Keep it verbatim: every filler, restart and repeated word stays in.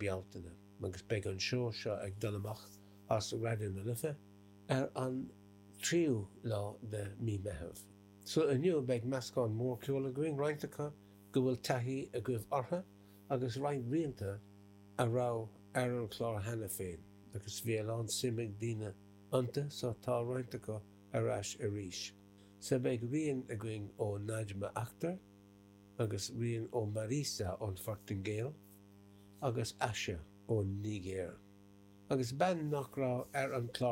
Bealtaine agus beidh an seó seo ag dul amach as Raidió na Life ar an tríú lá de mí Meitheamh. So inniu beidh meascán mór ceoil againn roinnt acu go bhfuil taithí agaibh orthu agus roinnt rianta a raibh ar an chlár cheana féin agus bhí a lán suim ag daoine iontu so tá roinnt acu ar ais arís. So beidh rian againn ó Najma Akhtar agus rian ó Marisa ón Phortaingéil agus Aisha ón Nigéir. Agus bean nach raibh ar an chlár